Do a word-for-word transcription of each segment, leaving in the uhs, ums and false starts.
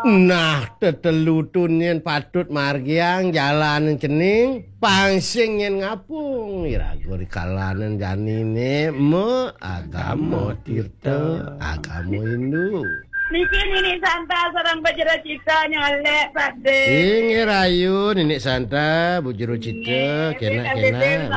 Nah, tetelutun yen patut margiang jalan cening, pang sing yen ngapung. Iraga ri kalanen janine me agama tirta, agama Hindu. Niki Nini Santa sareng Bajra Cita nyolek, Pak De. Inggih rayu, Nini Santa, Bu Jero Cita, inggih, kenak, kenak.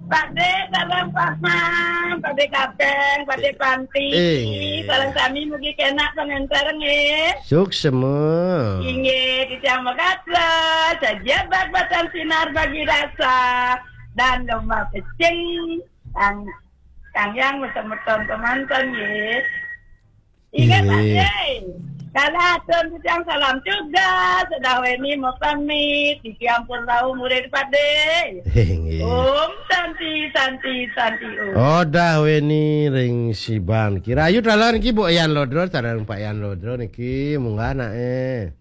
Pak De, salam Pak Mam, Pak De Kapeng, Pak De Panti. Inggih. Salam sami mugi kenak pangantar nggih. Suksema. Inggih, titiang makasih. Sajian bak batan sinar bagi rasa dan domba pecing. Kang, Kang Yang besemeton kemanten nggih. Inggih, Pak Nggih. De. Kala atur titiang salam juga, sedawene mapamit, titiang pun rauh murid Pak De. Inggih. Om Santi, Santi, Santi Om. Odah weni ring siban. Kira ayu talan ki Bu Yan Lodro, sareng Pak Yan Lodro niki, munggah anake.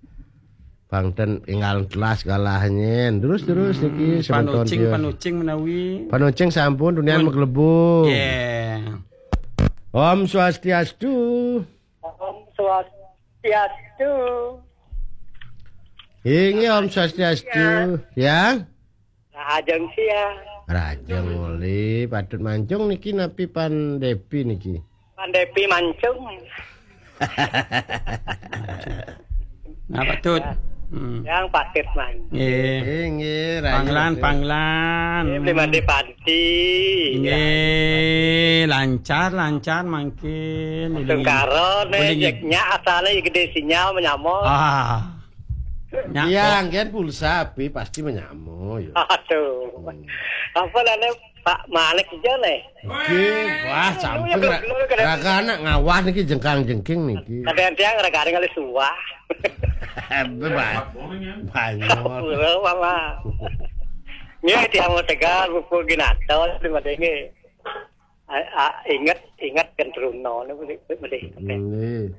Pang ten enggal telas galahnyen. Terus, terus niki, semeton Panucing, tios. Panucing menawi. Panucing sampun, tunian Pun. Maglebur. Yeah. Om Swastiastu. Om Swastiastu. Inggih, Om Swastiastu. Ya. Rahajeng sia. Rahajeng uli, patut mancung niki napi Pan Depi niki? Pan Depi mancung. Nah, patut. Hmm. Yang patut mancung. Nggih. Nggih, nggih, rahajeng Panglan, uli. Panglan. Nggih, beli mandi panti. Nggih, lancar, lancar mangkin. Tungkara, nih, Uling. Jek, nyak asale gede sinyal menyamot. Ah. Nyak Iya, kok. Kan pulsa api pasti menyamot, yo. Aduh. Hmm. Apa namanya Pak Malik aja nih? Oke, wah, sampun Iya, ra-, belum, belum, kadang- raga anak ngawah niki jengkang-jengking niki. Kadang tiang raga ada ngalih suah. Bebas. Banyol. Pura, Mama. Nggih, tiang mau tegal, buku ginato, di madenge. A, a, inget, inget kan Truno, ini boleh, boleh. Nggih.